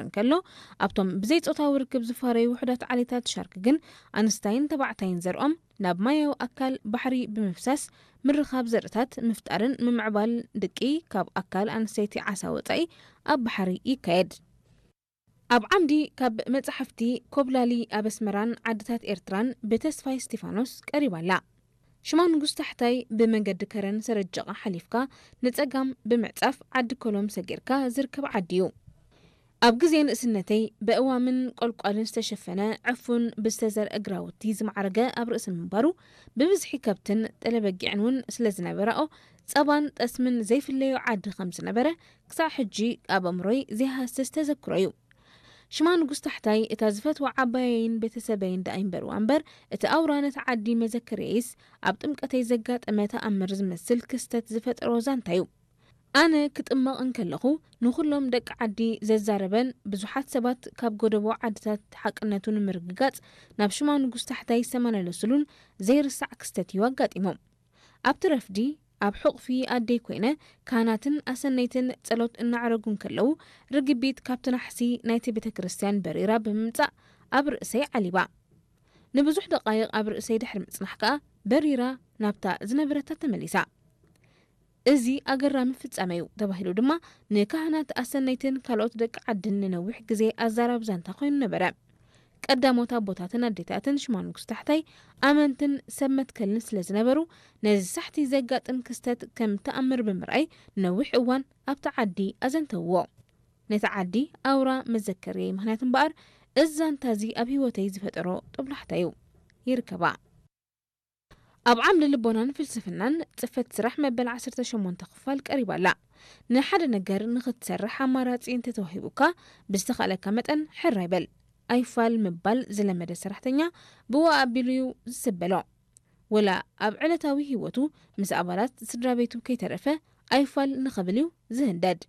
እንከሎ፣ ኣብቶም ብዘይጾታዊ ርክብ ዝፋረዩ ውሑዳት ዓሌታት ሻርክ ግን ኣንስታይን ተባዕታይን ዘርኦም ናብ ማያዊ ኣካል ባሕሪ ብምፍሳስ ምርኻብ ዘርእታት ምፍጣርን ምምዕባል ድቂ ካብ ኣካል ኣንስተይቲ ዓሳ ወጻኢ ኣብ ባሕሪ ይካየድ። ኣብ ዓምዲ ካብ መጻሕፍቲ ኮብላሊ ኣብ ኣስመራን ዓድታት ኤርትራን ብተስፋይ እስቲፋኖስ ቀሪባ ኣላ። ሽማ ንጉስ ታሕታይ ብመንገዲ ከረን ሰረጀቓ ሓሊፍካ ንጸጋም ብምዕጻፍ ዓዲ ኮሎም ሰጊርካ ዝርከብ ዓዲ እዩ። ኣብ ግዜ ንእስነተይ ብእዋምን ቆልቋልን ዝተሸፈነ ዕፉን ብዝተዘርአ ግራውቲ ዝማዕረገ ኣብ ርእሲ ምንባሩ ብብዝሒ ከብትን ጠለበጊዕን እውን ስለ ዝነበራኦ ጸባን ጠስምን ዘይፍለዮ ዓዲ ከም ዝነበረ ክሳዕ ሕጂ ኣብ ኣእምሮይ ዘይሃስስ ተዘክሮ እዩ። ሽማ ንጉስ ታሕታይ እታ ዝፈትዋ ዓባየይን ቤተሰበይን ደኣ ይንበርዋ እምበር እቲ ኣውራ ነቲ ዓዲ መዘከርየይስ ኣብ ጥምቀተይ ዘጋጠመ ተኣምር ዝመስል ክስተት ዝፈጠሮ ዛንታ እዩ። ኣነ ክጥመቕ እንከለኹ ንኹሎም ደቂ ዓዲ ዘዛረበን ብዙሓት ሰባት ካብ ጎደቦ ዓድታት ሓቅነቱ ንምርግጋጽ ናብ ሽማ ንጉስ ታሕታይ ዝተመላለስሉን ዘይርሳዕ ክስተት እዩ ኣጋጢሞም። ኣብቲ ረፍዲ ኣብ ሕቑፊ ኣደይ ኮይነ ካህናትን ኣሰነይትን ጸሎት እናዕረጉ እንከለዉ ርግቢት ካብቲ ናሕሲ ናይቲ ቤተ ክርስቲያን በሪራ ብምምጻእ ኣብ ርእሰይ ዓሊባ። ንብዙሕ ደቃይቕ ኣብ ርእሰይ ድሕሪ ምጽናሕ ከኣ በሪራ ናብታ ዝነበረታ ተመሊሳ። እዚ ኣገራሚ ፍጻመ እዩ ተባሂሉ ድማ ንካህናት ኣሰነይትን ካልኦት ደቂ ዓድን ንነዊሕ ግዜ ኣዛራቢ ዛንታ ኮይኑ ነበረ። ቀዳሞት ኣቦታትን ኣዴታትን ሽማ ንጉስ ታሕታይ ኣመንትን ሰብ መትከልን ስለ ዝነበሩ ነዚ ሳሕቲ ዘጋጥም ክስተት ከም ተኣምር ብምርኣይ ንነዊሕ እዋን ኣብቲ ዓዲ ኣዘንተውዎ። ነቲ ዓዲ ኣውራ መዘከርየይ ምኽንያት እምበኣር እዚ ዛንታ እዚ ኣብ ህይወተይ ዝፈጠሮ ጦብላሕታ እዩ። ይርከባ። ኣብ ዓምዲ ልቦናን ፍልስፍናን ጽፈት ስራሕ መበል ዓሰርተ ሸሞንተ ክፋል ቀሪባ ኣላ። ንሓደ ነገር ንኽትሰርሕ ኣማራጺ እንተተዋሂቡካ ብዝተኻእለካ መጠን ሕራይ በል። ኣይፋል ምባል ዝለመደ ሰራሕተኛ ብኡ ኣቢሉ እዩ ዝስበሎ። ወላ ኣብ ዕለታዊ ህይወቱ ምስ ኣባላት ስድራ ቤቱ ከይተረፈ ኣይፋል ንኽብል እዩ ዝህንደድ።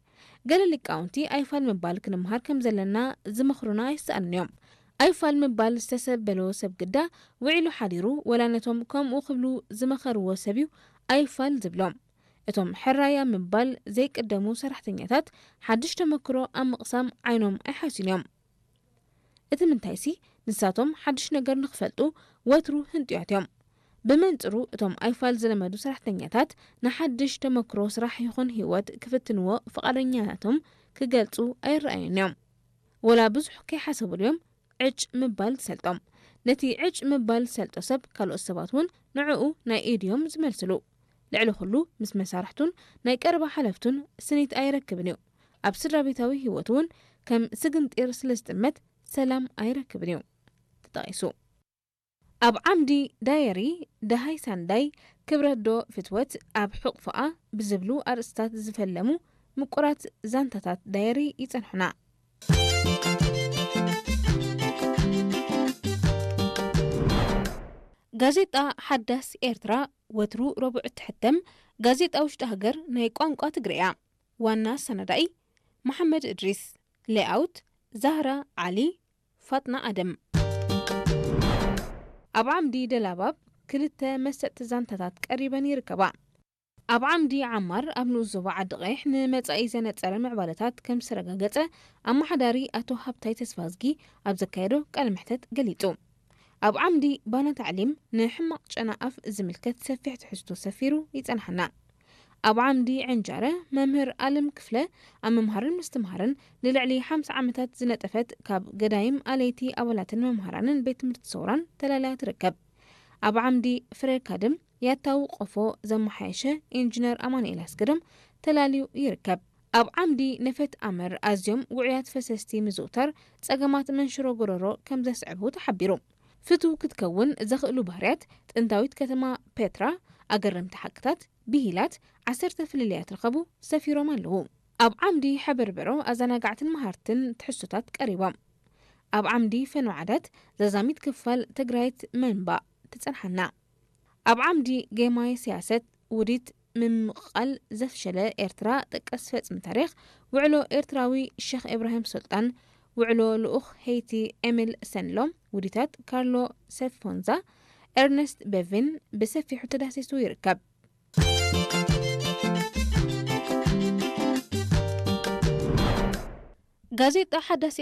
ገለ ሊቃውንቲ ኣይፋል ምባል ክንምሃር ከም ዘለና ዝመኽሩና ኣይሰኣኑን እዮም። ኣይፋል ምባል ዝተሰበሎ ሰብ ግዳ ውዒሉ ሓዲሩ ወላ ነቶም ከምኡ ክብሉ ዝመኸርዎ ሰብ እዩ ኣይፋል ዝብሎም። እቶም ሕራይ ኣብ ምባል ዘይቅደሙ ሰራሕተኛታት ሓድሽ ተመክሮ ኣብ ምቕሳም ዓይኖም ኣይሓስዩን እዮም። እቲ ምንታይሲ ንሳቶም ሓድሽ ነገር ንኽፈልጡ ወትሩ ህንጡያት እዮም። ብመንጽሩ እቶም ኣይፋል ዝለመዱ ሰራሕተኛታት ንሓድሽ ተመክሮ ስራሕ ይኹን ህይወት ክፍትንዎ ፍቓደኛነቶም ክገልጹ ኣይረኣዩን እዮም። ወላ ብዙሕ ከይሓሰቡሉ እዮም ዕጭ ምባል ዝሰልጦም። ነቲ ዕጭ ምባል ዝሰልጦ ሰብ ካልኦት ሰባት እውን ንዕኡ ናይ ኢድ እዮም ዝመልስሉ። ልዕሊ ኩሉ ምስ መሳርሕቱን ናይ ቀረባ ሓለፍቱን ስኒት ኣይረክብን እዩ። ኣብ ስድራ ቤታዊ ህይወቱ እውን ከም ስግንጢር ስለ ዝጥመት ሰላም ኣይረክብን እዩ ተጠቒሱ። ኣብ ዓምዲ ዳየሪ ደሃይ ሳንዳይ ክብረት ዶ ፍትወት ኣብ ሕቑፍኣ ብዝብሉ ኣርእስታት ዝፈለሙ ምቁራት ዛንታታት ዳየሪ ይጸንሑና። ጋዜጣ ሓዳስ ኤርትራ ወትሩ ረቡዕ እትሕተም ጋዜጣ ውሽጢ ሃገር ናይ ቋንቋ ትግርያ። ዋና ኣሰናዳኢ መሓመድ እድሪስ። ሌኣውት ዛህራ ዓሊ፣ ፋጥና ኣደም። ኣብ ዓምዲ ደላባብ ክልተ መሰጥቲ ዛንታታት ቀሪበን ይርከባ። ኣብ ዓምዲ ዓማር ኣብ ንኡስ ዞባ ዓዲ ቀይሕ ንመጻኢ ዘነጸረ ምዕባለታት ከም ዝተረጋገጸ ኣመሓዳሪ ኣቶ ሃብታይ ተስፋዝጊ ኣብ ዘካየዶ ቃለ መሕተት ገሊጹ። ኣብ ዓምዲ ባና ታዕሊም ንሕማቕ ጨና ኣፍ ዝምልከት ሰፊሕ ትሕዝቶ ሰፊሩ ይጸንሓና። ኣብ ዓምዲ ዕንጃረ መምህር ኣለም ክፍለ ኣብ ምምሃርን ምስትምሃርን ንልዕሊ ሓምሳ ዓመታት ዝነጠፈት ካብ ገዳይም ኣለይቲ ኣባላትን መምሃራንን ቤት ትምህርቲ ሰውራን ተላልያ ትርከብ። ኣብ ዓምዲ ፍረ ካድም ያታዊ ቆፎ ዘመሓየሸ ኢንጂነር ኣማኑኤል ኣስገዶም ተላልዩ ይርከብ። ኣብ ዓምዲ ነፈት ኣመር ኣዝዮም ውዑያት ፈሰስቲ ምዝውታር ጸገማት መንሽሮ ጎረሮ ከም ዘስዕቡ ተሓቢሩ። ፍቱው ክትከውን ዘኽእሉ ባህርያት ጥንታዊት ከተማ ፔትራ፣ ኣገረምቲ ሓቅታት፣ ብሂላት፣ ዓሰርተ ፍልልያት ርኸቡ ሰፊሮም ኣለዉ። ኣብ ዓምዲ ሕበርበሮ ኣዘናጋዕትን መሃርትን ትሕዝቶታት ቀሪቦም። ኣብ ዓምዲ ፈኖ ዓዳት ዘዛሚት ክፋል ትግራይት መንባእ ትጸንሓና። ኣብ ዓምዲ ጌማይ ስያሰት ውዲት ምምቕቓል ዘፍሸለ ኤርትራ ጠቀስ ፈጽሚ ታሪኽ፣ ውዕሎ ኤርትራዊ ሸኽ ኢብራሂም ሱልጣን፣ ውዕሎ ልኡኽ ሄይቲ ኤሚል ሰንሎም፣ ውዲታት ካርሎ ሰፎንዛ፣ ኤርነስት ቤቪን ብሰፊሑ ተዳሲሱ ይርከብ። ጋዜጣ ሓዳስ